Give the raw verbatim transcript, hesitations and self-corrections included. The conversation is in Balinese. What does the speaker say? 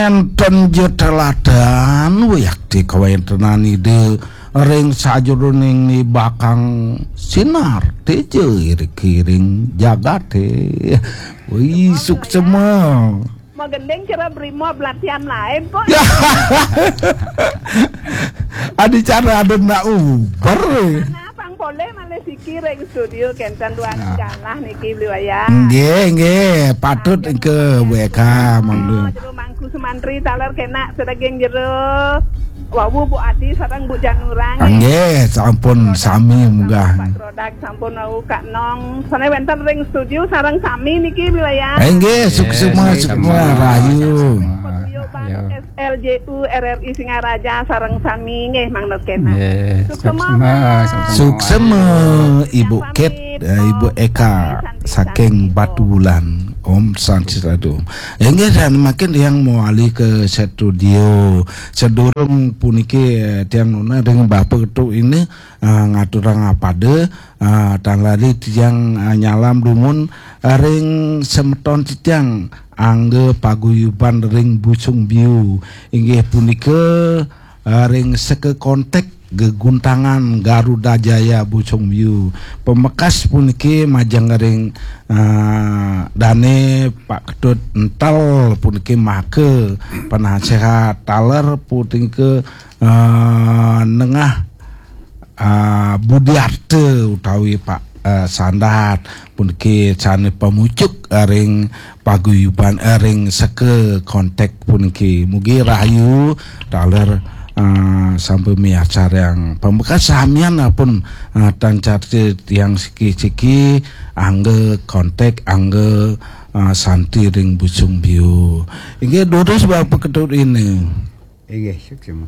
Enten ja teladan wiakti kawentenan Ida ring sajeroning nibakang sinar teja irikiring jagate. Wih, suksema. Magending kira brimo belatihan lain kok. Ya. Adi cara ada nak uber. Nah, pang polih malih siki ring studio kenten duan galah niki beli wayah. Nggih, nggih, patut ke W K mangga. Jero Mangku Sumantri taler kenak sedaging jero. Wawu Bu Adi sareng Bu Janurang. Nggih, sampun sami munggah. Pak Rodak sampun wau Kak Nong. Sane wenten ring studio sareng sami niki beli wayah. Eh, nggih, suksema, suksema, rahayu. Studio Bang S L J U R R I Singaraja sareng sami nggih mangda kenak. Nggih, suksema, suksema, Mas. Suksema, Ibu Kit, eh, Ibu Eka saking Batubulan. Om Santi Sadhu. Inggih, dan makin yang mawali ke studio. Sedurung puniki, eh, tiang nunas ring Bapak Ketuk ini, eh, ngaturang apada, eh, tan lali tiang, eh, nyalam dumun, eh, ring semeton titiang angga paguyuban ring Busung Biu. Inggih punika, eh, ring seka kontek geguntangan Garuda Jaya Busung Biu. Pamekas puniki majeng ring, eh, dane Pak Ketut Entel puniki maka penasehat taler punika, eh, nengah, eh, Budiarte utawi Pak, eh, Sandat puniki sane pamucuk ring paguyuban, eh, ring seka kontek puniki. Mugi rahayu taler, eh, sampai miacarang. Pamekas samian pun, eh, tan carti tiang siki-siki angga kontek, angga, eh, santi ring Busung Biu. Inggih durus Bapak Ketut ini. Inggih, suksema.